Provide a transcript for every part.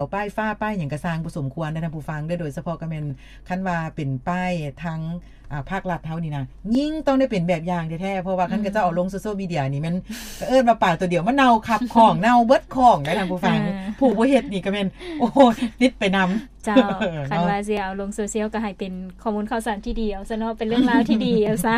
ວ ປ້າຍຟ້າ ປ້າຍຫຍັງກະຊ່າງບໍ່ສົມຄວນເດີທ່ານຜູ້ຟັງເດີ. ໂດຍສະເພາະກະແມ່ນຄັນວ່າເປັນປ້າຍທາງ ອ່າ ພາກລັດເຮົານີ້ນະ ຍິ່ງຕ້ອງໄດ້ເປັນແບບຢ່າງແທ້ໆ ເພາະວ່າຄັນ ອືມ ເຂົາເຈົ້າເອົາລົງໂຊຊຽວມີເດຍນີ້ແມ່ນ ເອີ້ນວ່າປາໂຕດຽວມາເນົ່າຄັບຂອງ ເນົ່າເບິດຂອງໄດ໋ທ່ານຜູ້ຟັງ. ເອີ ຜູ້ບໍ່ເຮັດນີ້ກະແມ່ນ ໂອ້ ຕິດໄປນຳ. ເຈົ້າ ເນາະ ຄັນວ່າຊິເອົາລົງໂຊຊຽວກະໃຫ້ເປັນຂໍ້ມູນຂ່າວສານທີ່ດີເອົາຊະເນາະ ເປັນເລື່ອງລາວທີ່ດີເອົາຊະ.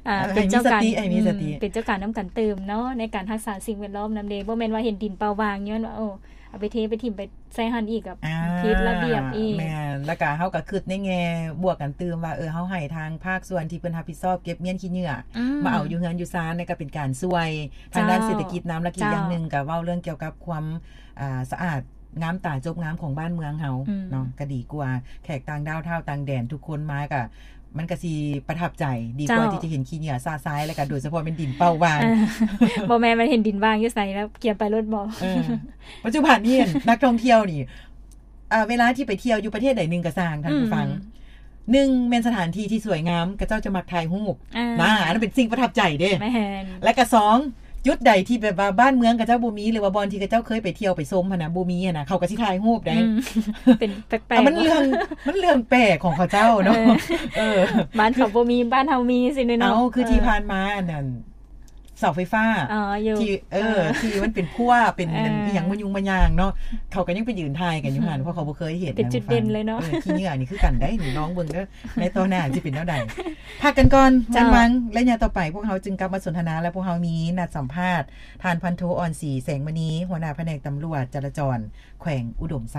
ອ່າ ໃຫ້ມີສະຕິ ເປັນເຈົ້າການ ໃຫ້ມີສະຕິ ອືມ ເປັນເຈົ້າການນຳກັນຕື່ມເນາະ ໃນການຮັກສາສິ່ງແວດລ້ອມນຳເດ. ບໍ່ແມ່ນວ່າເຫັນດິນເປົ່າຫວ່າງ ຍ້ອນວ່າ ໂອ້ ເອົາໄປເທໄປຖິ້ມໄປໃສ່ຫັ້ນອີກ ອ່າ ຜິດລະບຽບອີກ. ແມ່ນ ແລ້ວກະເຮົາກະຄຶດໃນແງ່ບວກກັນຕື່ມວ່າ ເອີ ເຮົາໃຫ້ທາງພາກສ່ວນທີ່ເພິ່ນຮັບຜິດຊອບເກັບມ້ຽນຂີ້ເຫຍື້ອ ອືມ ມາເອົາຢູ່ເຮືອນຢູ່ຊານ ນັ້ນກະເປັນການຊ່ວຍທາງດ້ານ ເຈົ້າ ເສດຖະກິດນຳ ແລະກະອີກຢ່າງໜຶ່ງ ເຈົ້າ ກະເວົ້າເລື່ອງກ່ຽວກັບຄວາມ ອ່າ ສະອາດງາມຕາຈົບງາມຂອງບ້ານເມືອງເຮົາ ອືມ ເນາະ ກະດີກວ່າແຂກຕ່າງດ້າວທ້າວຕ່າງແດນທຸກຄົນມາກະ ມັນກະຊິປະທັບໃຈ ດີກວ່າ ເຈົ້າ ທີ່ຈະເຫັນຂີ້ເຫຍື້ອຊະຊາຍ ແລ້ວກະໂດຍສະເພາະແມ່ນດິນເປົ່າຫວ່າງ. ເອີ ບໍ່ແມ່ນວ່າເຫັນດິນຫວ່າງຢູ່ໃສແລ້ວກຽມໄປໂລດບໍ? ເອີ ປັດຈຸບັນນີ້ນັກທ່ອງທ່ຽວນີ້ ເອີ ເວລາທີ່ໄປທ່ຽວຢູ່ປະເທດໃດໜຶ່ງກະຊ່າງທ່ານຜູ້ຟັງ ອືມ ໜຶ່ງແມ່ນສະຖານທີ່ທີ່ສວຍງາມ ເຂົາເຈົ້າຈະມັກຖ່າຍຮູບ ອ່າ ນະ ອັນນັ້ນເປັນສິ່ງປະທັບໃຈເດ້. ແມ່ນ ແລະກະສອງ ຈຸດໃດທີ່ແບບວ່າບ້ານເມືອງເຂົາເຈົ້າບໍ່ມີ ຫຼືວ່າບ່ອນທີ່ເຂົາເຈົ້າເຄີຍໄປທ່ຽວໄປຊົມຫັ້ນນະ ບໍ່ມີຫັ້ນນະ ເຂົາກະຊິຖ່າຍຮູບໄດ້. ອືມ ເປັນແປກໆ ເອີ ມັນເລື່ອງ ມັນເລື່ອງແປກຂອງເຂົາເຈົ້າເນາະ. ເອີ ເອີ ບ້ານເຂົາບໍ່ມີ ບ້ານເຮົາມີ ຊີ້ເນາະ. ເອົາ ຄືທີ່ ເອີ ຜ່ານມາອັນນັ້ນ ເສົາໄຟຟ້າ ອໍ ຢູ່ ທີ່ ເອີ ເອີ ທີ່ມັນເປັນພົ່ວ ເປັນ ເອີ ອີ່ຫຍັງມະຍຸງມະຍາງເນາະ ເຂົາກະຍັງໄປຢືນຖ່າຍກັນຢູ່ຫັ້ນ ອືມ ເພາະເຂົາບໍ່ເຄີຍເຫັນ. ເປັນຈຸດເດັ່ນເລີຍເນາະ. ເອີ ຂີ້ເຫຍື້ອນີ້ຄືກັນໄດ໋ນີ້ ລອງເບິ່ງເດີ ໃນຕໍ່ໜ້າຊິເປັນແນວໃດ. ພັກກັນກ່ອນ ເຈົ້າ ຈັນວັງ ໄລຍະຕໍ່ໄປພວກເຮົາຈຶ່ງກັບມາສົນທະນາ ແລະ ພວກເຮົາມີນັດສຳພາດທ່ານພັນໂທ ອ່ອນສີ ແສງມະນີ ຫົວໜ້າພະແນກຕຳຫຼວດຈະລາຈອນແຂວງອຸດົມໄຊ.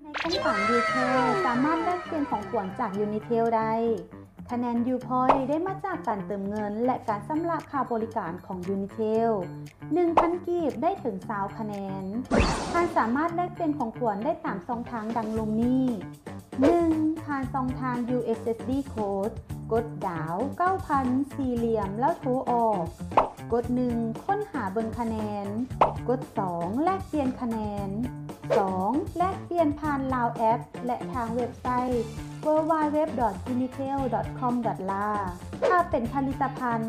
ໃນໂຄງການ Unitel ສາມາດແລກປ່ຽນຂອງຂວັນຈາກ Unitel ໄດ້. ຄະແນນ U Point ໄດ້ມາຈາກການເຕີມເງິນ ແລະ ການຊຳລະຄ່າບໍລິການຂອງ Unitel. ໜຶ່ງພັນກີບໄດ້ເຖິງຊາວຄະແນນ. ທ່ານສາມາດແລກປ່ຽນຂອງຂວັນໄດ້ຕາມຊ່ອງທາງດັ່ງລຸ່ມນີ້. ໜຶ່ງ ຜ່ານຊ່ອງທາງ USSD code ກົດດາວເກົ້າພັນສີ່ຫຼ່ຽມ ແລ້ວໂທອອກ. ກົດໜຶ່ງ ຄົ້ນຫາເບິ່ງຄະແນນ. ກົດສອງ ແລກປ່ຽນຄະແນນ. ສອງ ແລກປ່ຽນຜ່ານ Lao App ແລະ ທາງເວັບໄຊ www.unitel.com.la. ຖ້າເປັນຜະລິດຕະພັນ,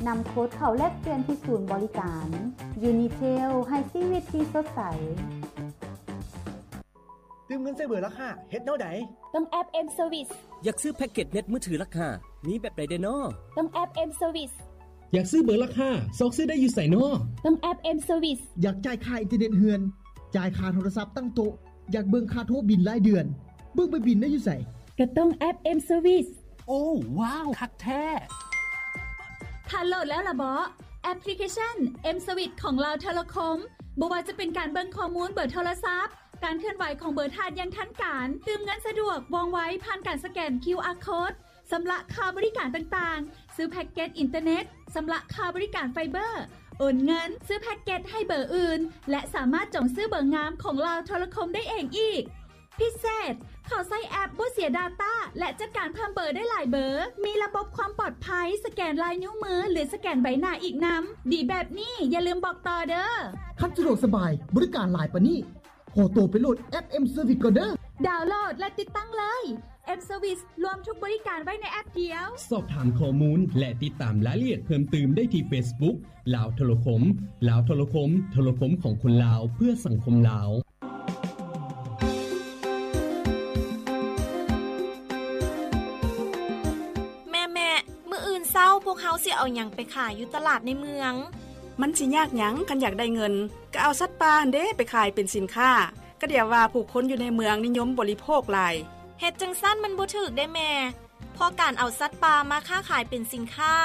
ນຳໂຄດເຂົ້າແລກປ່ຽນທີ່ສູນບໍລິການ. Unitel ໃຫ້ຊີວິດທີ່ສົດໃສ. ຕື່ມເງິນໃສ່ເບີລາຄາ ເຮັດແນວໃດ? ຕ້ອງແອັບ M Service. ຢາກຊື້ແພັກເກັດເນັດມືຖືລາຄາ ມີແບບໃດແດ່ນໍ? ຕ້ອງແອັບ M Service. ຢາກຊື້ເບີລາຄາ ຊອກຊື້ໄດ້ຢູ່ໃສນໍ? ຕ້ອງແອັບ M Service. ຢາກຈ່າຍຄ່າອິນເຕີເນັດເຮືອນ, ຈ່າຍຄ່າໂທລະສັບຕັ້ງໂຕະ, ຢາກເບິ່ງຄ່າໂທບິນລາຍເດືອນ, ເບິ່ງໃບບິນໄດ້ຢູ່ໃສ? ກໍຕ້ອງແອັບ M Service. ໂອ້ ວ້າວ ຄັກແທ້! ທ່ານໂຫຼດແລ້ວລະເບາະ? ແອັບພລິເຄຊັນ M Service ຂອງລາວໂທລະຄົມ. ບໍ່ວ່າຈະເປັນການເບິ່ງຂໍ້ມູນເບີໂທລະສັບ, ການເຄື່ອນໄຫວຂອງເບີທ່ານຢ່າງທັນການ, ຕື່ມເງິນສະດວກ, ວ່ອງໄວ ຜ່ານການສະແກນ ຄິວອາ ໂຄດ, ຊຳລະຄ່າບໍລິການຕ່າງໆ, ຊື້ແພັກເກັດອິນເຕີເນັດ, ຊຳລະຄ່າບໍລິການໄຟເບີ, ໂອນເງິນ, ຊື້ແພັກເກັດໃຫ້ເບີອື່ນ ແລະ ສາມາດຈອງຊື້ເບີງາມຂອງລາວໂທລະຄົມໄດ້ເອງອີກ. ພິເສດ, ເຂົ້າໃຊ້ແອັບບໍ່ເສຍດາຕ້າ ແລະ ຈັດການເພີ່ມເບີໄດ້ຫຼາຍເບີ, ມີລະບົບຄວາມປອດໄພ, ສະແກນລາຍນິ້ວມື ຫຼື ສະແກນໃບໜ້າອີກນຳ. ດີແບບນີ້ ຢ່າລືມບອກຕໍ່ເດີ້. ຄັນສະດວກສະບາຍ, ບໍລິການຫຼາຍປານນີ້, ຂໍໂຕໄປໂຫຼດແອັບ M Service ກ່ອນເດີ້. ດາວໂຫຼດ ແລະ ຕິດຕັ້ງເລີຍ. M Service ລວມທຸກບໍລິການໄວ້ໃນແອັບດຽວ. ສອບຖາມຂໍ້ມູນ ແລະ ຕິດຕາມລາຍລະອຽດເພີ່ມຕື່ມໄດ້ທີ່ Facebook ລາວໂທລະຄົມ. ລາວໂທລະຄົມ, ໂທລະຄົມຂອງຄົນລາວ ເພື່ອສັງຄົມລາວ. ແມ່ໆ ມື້ອື່ນເຊົ້າພວກເຮົາຊິເອົາຫຍັງໄປຂາຍຢູ່ຕະຫຼາດໃນເມືອງ? ມັນຊິຍາກຫຍັງ ຄັນຢາກໄດ້ເງິນ ກໍເອົາສັດປ່າຫັ້ນເດ້ໄປຂາຍເປັນສິນຄ້າ. ກະດຽວວ່າຜູ້ຄົນຢູ່ໃນເມືອງນິຍົມບໍລິໂພກຫຼາຍ. ເຮັດຈັ່ງຊັ້ນມັນບໍ່ຖືກເດ້ແມ່, ເພາະການເອົາສັດປ່າມາຄ້າຂາຍເປັນສິນຄ້າ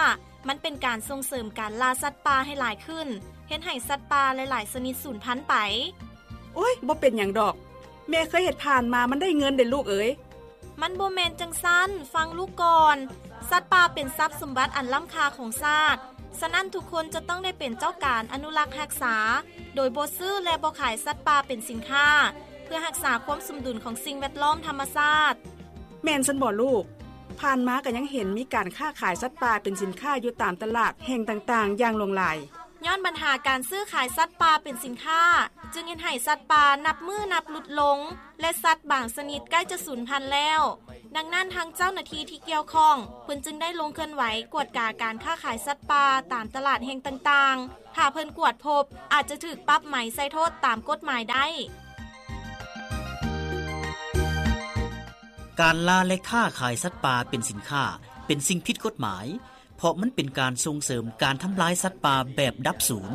ມັນເປັນການສົ່ງເສີມການລ່າສັດປ່າໃຫ້ຫຼາຍຂຶ້ນ, ເຮັດໃຫ້ສັດປ່າຫຼາຍໆຊະນິດສູນພັນໄປ. ໂອ້ຍ ບໍ່ເປັນຫຍັງດອກ, ແມ່ເຄີຍເຮັດຜ່ານມາ ມັນໄດ້ເງິນເດ້ລູກເອີຍ. ມັນບໍ່ແມ່ນຈັ່ງຊັ້ນ, ຟັງລູກກ່ອນ. ສັດປ່າເປັນຊັບສົມບັດອັນລ້ຳຄ່າຂອງຊາດ, ສະນັ້ນທຸກຄົນຈະຕ້ອງໄດ້ເປັນເຈົ້າການອະນຸລັກຮັກສາ, ໂດຍບໍ່ຊື້ ແລະ ບໍ່ຂາຍສັດປ່າເປັນສິນຄ້າ, ເພື່ອຮັກສາຄວາມສົມດຸນຂອງສິ່ງແວດລ້ອມທຳມະຊາດ. ແມ່ນຊັ້ນບໍລູກ? ຜ່ານມາກໍຍັງເຫັນມີການຄ້າຂາຍສັດປ່າເປັນສິນຄ້າຢູ່ຕາມຕະຫຼາດແຫ່ງຕ່າງໆຢ່າງຫຼວງຫຼາຍ. ຍ້ອນບັນຫາການຊື້ຂາຍສັດປ່າເປັນສິນຄ້າ ຈຶ່ງເຮັດໃຫ້ສັດປ່ານັບມື້ນັບຫຼຸດລົງ ແລະ ສັດບາງຊະນິດໃກ້ຈະສູນພັນແລ້ວ. ດັ່ງນັ້ນ ທາງເຈົ້າໜ້າທີ່ທີ່ກ່ຽວຂ້ອງ ເພິ່ນຈຶ່ງໄດ້ລົງເຄື່ອນໄຫວກວດກາການຄ້າຂາຍສັດປ່າຕາມຕະຫຼາດແຫ່ງຕ່າງໆ. ຖ້າເພິ່ນກວດພົບ ອາດຈະຖືກປັບໃໝ ໃສ່ໂທດຕາມກົດໝາຍໄດ້. ການລ່າ ແລະ ຄ້າຂາຍສັດປ່າເປັນສິນຄ້າ ເປັນສິ່ງຜິດກົດໝາຍ ເພາະມັນເປັນການສົ່ງເສີມການທຳລາຍສັດປ່າແບບດັບສູນ.